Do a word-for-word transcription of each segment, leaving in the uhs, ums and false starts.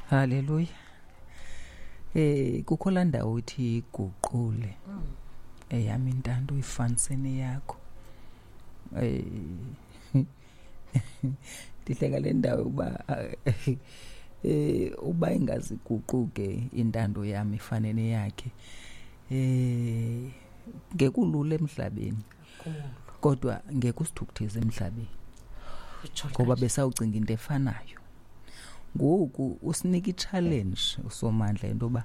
Haleluya. Eh kukho laa ndawo ithi iguqule eyam intando uyifanise neyakho. Eh ndihleka le ndawo uba eh uba ingaziguquke intando yam ifane neyakhe, eh ngekulula emhlabeni, kodwa ngeke usithukutheze emhlabeni, ngoba besawucinga into efanayo. Ngoku usinika i-challenge uSomandla into yoba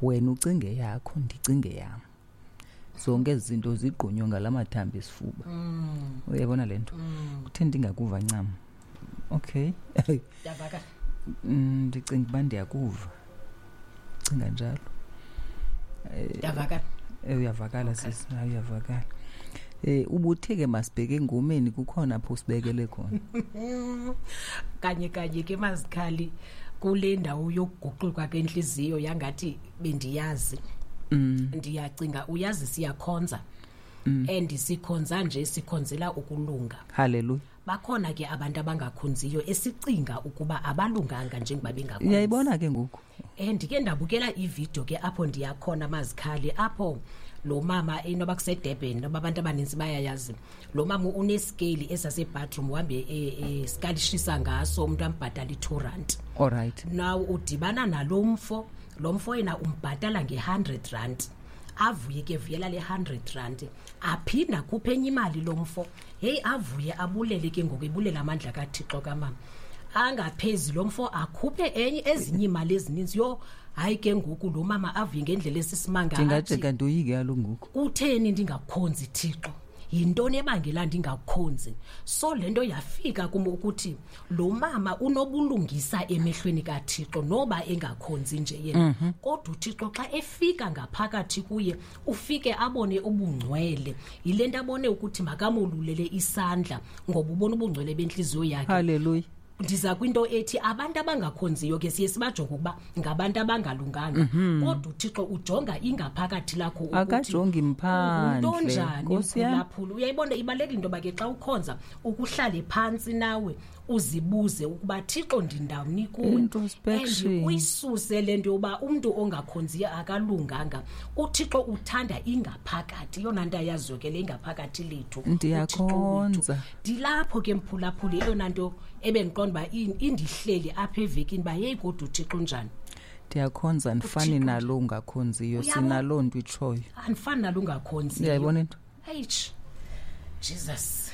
wena ucinge yakho, ndicinge yam, zonke ezi zinto zigqunywe ngala mathambo esifuba. Uyayibona le nto? Kuthe ndingakuva ncam. Okay. Ndiyavakala. Mm, ndicinga uba ndiyakuva, cinga njalo. Ndiyavakala. Eh uyavakala sisi, hayi uyavakala. Eh ubuthe ke masibheke engomeni, kukhona apho sibekele khona. Kanye kanye ke, Mazikhali, kule ndawo yokuguquka kwenhliziyo yangathi bendiyazi. Mm. Ndiyacinga uyazi siyakhonza. And sikhonza nje sikhonzela ukulunga. Hallelujah. Bakhona ke abantu abangakhonziyo esicinga ukuba abalunganga njengoba bengakhonzi. Uyayibona ke ngoku. Eh ndike ndabukela ivideo ke apho ndiyakhona, Mazikhali, apho lo mama inoba kuseDurban, noba abantu abaninzi bayayazi lo mama unescale esase-bathroom, uhambe esikalishisa ngaso umuntu ambhatala i-two rand. All right. Now udibana nalo mfo, lo mfo yena umbhatala nge-hundred rand, avuye ke vuyela le hundred rand, aphinda akhuphe enye imali lo mfo, heyi, avuye abulele ke ngoku, ebulela amandla kaThixo kamama. Angaphezi lo mfo akhuphe enye ezinye imali ezininzi. Yho, hayi ke ngoku lo mama avuye ngendlela esisimanga, athi, Ndingajika ndoyike kaloku ngoku. "Kutheni ndingakhonzi, Thixo? Yintoni ebangela ndingakhonzi?" So le nto yafika kum ukuthi lo mama unobulungisa emehlweni kaThixo noba engakhonzi nje yena, kodwa uThixo xa efika ngaphakathi kuye ufike abone ubungcwele. Yile nto abone ukuthi makamolulele isandla, ngoba ubona ubungcwele bentliziyo yakhe. Hallelujah. Ndiza kwinto ethi abantu abangakhonziyo ke siye sibajonge ukuba ngabantu abangalunganga, kodwa uThixo ujonga ingaphakathi lakho ukuthi Akajongi mphandle. untonjani. Nkosi yam. Mphulaphula, uyayibona, ibalulekile into yoba ke xa ukhonza ukuhlale phantsi nawe uzibuze ukuba, "Thixo, ndindawuni kuwe?" Introspection. And uyisuse le nto yoba umntu ongakhonziyo akalunganga. UThixo uthanda ingaphakathi, eyona nto ayaziyo ke le ingaphakathi lethu, uThixo wethu. Ndiyakhonza. Ndilapho ke, mphulaphuli, eyona nto ebendiqonda uba in- indihleli apha evekini uba yeyi, kodwa uThixo unjani? Ndiyakhonza, andifani uThixo nalo ungakhonziyo. Uyabo? Sinaloo nto itshoyo. Andifani nalo ungakhonziyo. Uyayibona into? Eish, Jesus.